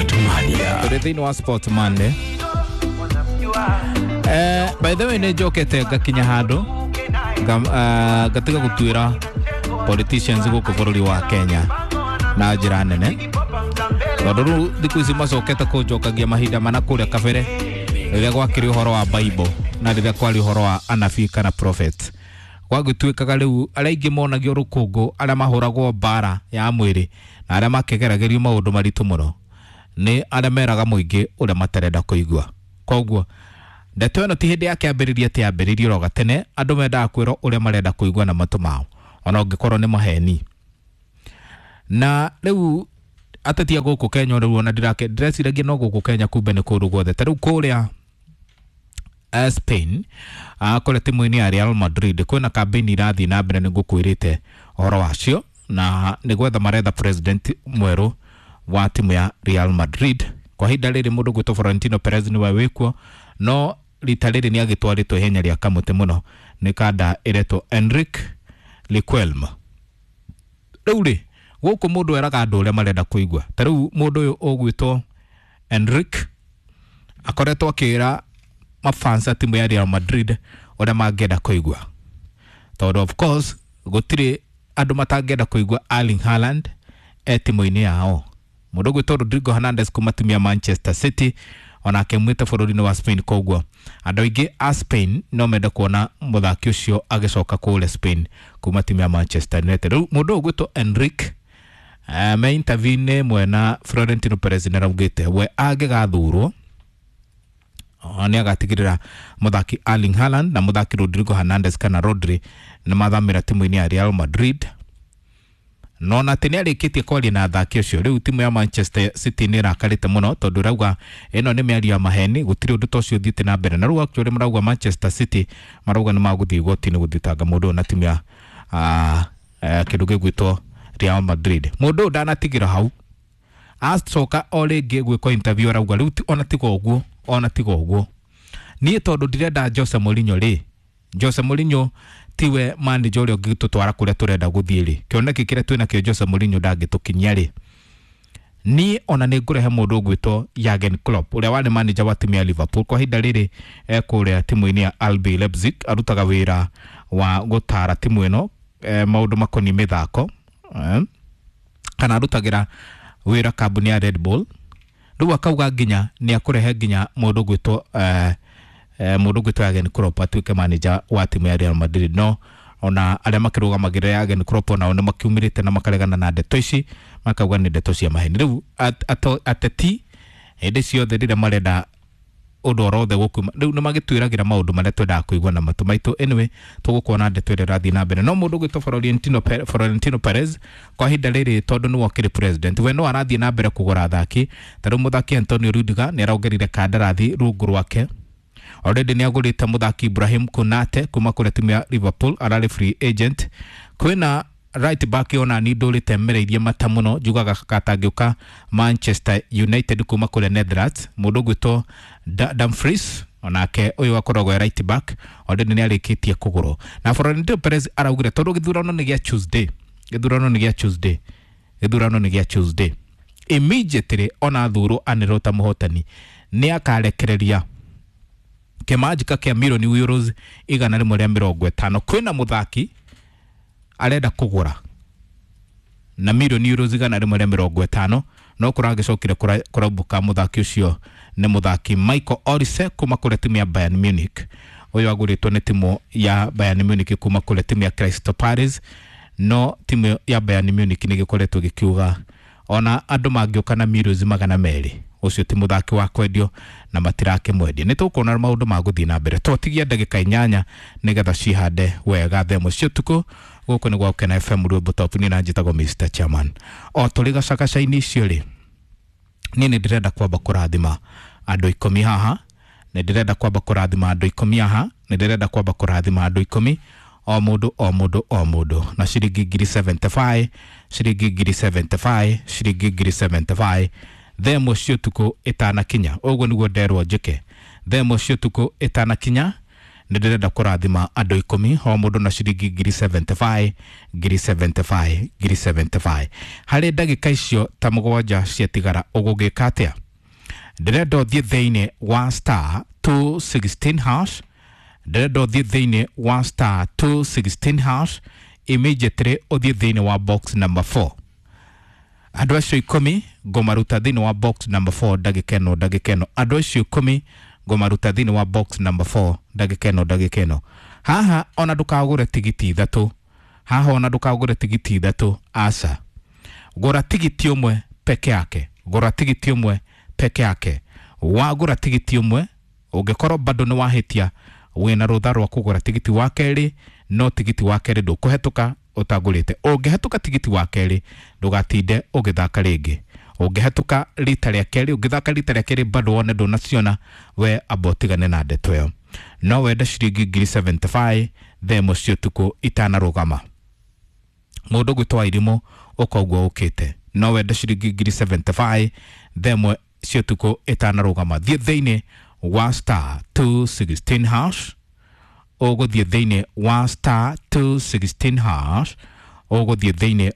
Sport Mania. Tũrĩ thĩinĩ wa Sport Monday. By the way nĩ njokete ngakinya handũ ngatiga gũtuĩra politicians gũkũ bũrũri wa Kenya na njĩra nene, tondũ rĩu thikũ ici macokete kũnjokagia mahinda mana kũrĩa kabere rĩrĩa gwakĩrĩ ũhoro wa Bible na rĩrĩa kwarĩ ũhoro wa anabii kana prophet. Gwagĩtuĩkaga rĩu arĩa aingĩ monagio rũkũngũ, arĩa mahũragwo mbara ya mwĩrĩ na arĩa makĩgeragĩrio maũndũ maritũ mũno nĩ arĩa meraga mũingĩ ũrĩa matarenda kũigua. Koguo ndeto ĩno ti hĩndĩ ya kĩambĩrĩria, ti yambĩrĩirio oro gatene, andũ mendaga kwĩrwo ũrĩa marenda kũigua na matũ mao ona ũngĩkorwo nĩ maheni. Na rĩu ateti a gũkũ Kenya rĩu ona ndĩreciragia no gũkũ Kenya, kumbe nĩ kũndũ guothe. Ta rĩu kũrĩa Spain, kũrĩa timu-inĩ ya Real Madrid kwĩna kambĩini irathiĩ na mbere, nĩ ngũkwĩrĩte ũhoro wacio, na nĩ gwetha maretha president mwerũ wa timu ya Real Madrid. Kwa ihinda rĩrĩ mũndũ gwĩtwo Florentino Perez nĩwe wĩkuo, no rita rĩrĩ nĩ agĩtwarĩtwo ihenya rĩa kamũtĩ mũno nĩ kanda ĩretwo Enrique Riquelme. Rĩu rĩ gũkũ mũndũ eraga andũ ũrĩa marenda kũigua. Ta rĩu mũndũ ũyũ ũgwĩtwo Enrique akoretwo akĩra mafans a timu ya Real Madrid ũrĩa mangĩenda kũigua, tondũ of course gũtirĩ andũ matangĩenda kũigua Erling Haaland e timu-inĩ yao. Mũndũ ũgwĩtwo Rodrigo Hernandez kuma timu ya Manchester City onake mwĩte bũrũri-inĩ wa Spain. Koguo andũ aingĩ a Spain no mende kuona mũthaki ũcio agĩcoka kũrĩa Spain kuma timu ya Manchester United. Rĩu mũndũ ũyũ ũgwĩtwo Enrique me interview-inĩ ĩmwe na Florentino Perez nĩ araugĩte we angĩgathurwo nĩ agatigĩrĩra mũthaki Erling Haaland na mũthaki Rodrigo Hernandez kana Rodri nĩ mathamĩra timu-inĩ ya Real Madrid. No na atĩ nĩ arĩkĩtie kwaria na athaki ũcio. Rĩu timu ya Manchester City nĩ ĩrakarĩte mũno tondũ ĩrauga ĩno nĩ mĩario ya maheni, gũtirĩ ũndũ ta ũcio ũthiĩte na mbere. Na rĩu actually marauga Manchester City marauga nĩ magũthiĩ igoti-inĩ gũthitanga mũndũ ũyũ na timu ya kĩndũ gĩgwĩtwo Real Madrid. Mũndũ ũyũ ndanatigĩra hau, acoka o rĩngĩ gwĩkwo interview arauga rĩu ona tiga ũguo, ona tiga ũguo, niĩ tondũ ndirenda Jose Mourinho rĩ, Jose Mourinho tiwe manager ũrĩa ũngĩtũtwara kũrĩa tũrenda gũthiĩ rĩ, kĩoneki kĩrĩa twĩnakĩo Jose Mourinho ndangĩtũkinyia rĩ, niĩ ona nĩ ngũrehe mũndũ ũgwĩtwo Jurgen Klopp ũrĩa warĩ manager wa timu ya Liverpool. Kwa ihinda rĩrĩ ekũrĩa timu-inĩ ya RB Leipzig, arutaga wĩra wa gũtara timu ĩno maũndũ makoniĩ mĩthako, kana arutagĩra wĩra kambuni ya Red Bull. Rĩu akauga nginya nĩ akũrehe nginya mũndũ ũgwĩtwo mũndũ ũgwĩtwo Jurgen Klopp atuĩke manager wa timu ya Real Madrid. No ona arĩa makĩrũgamagĩrĩra Jurgen Klopp onao nĩ makiumĩrĩte na makaregana na ndeto ici, makauga nĩ ndeto cia maheni. Rĩu ateti hĩndĩ ciothe rĩrĩa marenda ũndũ orothe gũkuma rĩu nĩ magĩtwĩragĩra maũndũ marĩa twendaga kũigua na matũ maitũ. Anyway, tũgũkuona ndeto ĩrĩa ĩrathiĩ na mbere. No mũndũ ũgwĩtwo Florentino Perez kwa ihinda rĩrĩ tondũ nĩwe ũkĩrĩ president, we no arathiĩ na mbere kũgũra athaki. Ta rĩu mũthaki Antonio Rudiger nĩ araongereire kandarathi rungu rwake. Already nĩ agũrĩte mũthaki Ibrahim Konate kuma kũrĩa timu ya Liverpool, ararĩ free agent. Kwĩna right back ona ni ndũrĩte mereirie mata mũno, njugaga katangĩũka Manchester United kuma kũrĩa Netherlands, mũndũ ũgwĩtwo Dumfries onake ũyũ akoragwo e right back, already nĩ arĩkĩtie kũgũrwo. Na Florentino Perez araugire tondũ gĩthurano nĩ gĩa Tuesday, gĩthurano nĩ gĩa Tuesday, gĩthurano nĩ gĩa Tuesday, immediately ona thurwo anĩrwo ta mũhotani nĩ akarekereria kĩmanjĩka kĩa milioni euros 150. Kwĩna mũthaki arenda kũgũra na milioni euros 150, no kũragĩcokire kũraumbũka mũthaki ũcio nĩ mũthaki Michael Olise kuma kũrĩa timu ya Bayern Munich. Ũyũ agũrĩtwo nĩ timu ya Bayern Munich kuma kũrĩa timu ya Crystal Palace, no timu ya Bayern Munich nĩ gĩkoretwo gĩkiuga ona andũ mangĩũka na milioni 200 ũcio ti mũthaki wa kwendio na matirakĩmwendia. Nĩ tũkuona maũndũ ma gũthiĩ na mbere. Twatigia ndagĩka 8 nĩgetha cihande wega thaa ĩmwe cia ũtukũ. Gũkũ nĩ gwa Gũkena FM Rwĩmbo Top, niĩ na njĩtagwo Mr Chairman. O tũrĩ gacagaca-inĩ icio rĩ, niĩ nĩ ndĩrenda kwamba kũrathima andũ 10 haha, nĩ ndĩrenda kwamba kũrathima andũ 10 haha, nĩ ndĩrenda kwamba kũrathima andũ 10, o mũndũ o mũndũ o mũndũ na ciringi ngiri 75, ciringi ngiri 75, ciringi ngiri 75 thaa ĩmwe cia ũtukũ ĩtanakinya. Ũguo nĩguo nderwo njĩke, thaa ĩmwe cia ũtukũ ĩtanakinya Nĩ ndĩrenda kũrathima andũ 10, o mũndũ na ciringi ngiri 75, ngiri 75, ngiri 75. Harĩ ndagĩka icio ta 7 ciatigara, ũgũgĩka atĩa? Ndĩrenda ũthiĩ thĩinĩ wa star 216 hash. Ndĩrenda ũthiĩ thĩinĩ wa star 216 hash immediately, ũthiĩ thĩinĩ wa box number 4. Andũ acio 10 ngũmaruta thĩinĩ wa box number 4 ndagĩka ĩno, ndagĩka ĩno. Andũ acio 10 ngũmaruta thĩinĩ wa box number 4 ndagĩka ĩno, ndagĩka ĩno. Haha ona ndũkagũre tigiti 3, haha ona ndũkagũre tigiti 3, aca. Gũra tigiti 1 peke yake, gũra tigiti 1 peke yake. Wagũra tigiti 1, ũngĩkorwo bado nĩ wahĩtia, wĩna rũtha rwa kũgũra tigiti wa kerĩ, no tigiti wa kerĩ ndũkũhetũka ũtagũrĩte. Ũngĩhetũka tigiti wa kerĩ, ndũgatinde ũgĩthaka rĩngĩ. Ũngĩhetũka rita rĩa kerĩ, ũngĩthaka rita rĩa kerĩ bado wone ndũnaciona, we amba ũtigane na ndeto ĩyo. No wende ciringi ngiri 75 thaa 1 cia ũtukũ itanarũgama. Mũndũ gwĩtwo Wairimũ, ũka ũguo ũkĩte. No wende ciringi ngiri 75 thaa 1 cia ũtukũ ĩtanarũgama. Thiĩ thĩinĩ wa star 216 hash. Ũgũthiĩ thĩinĩ wa star 216 hash, ũgũthiĩ thĩinĩ.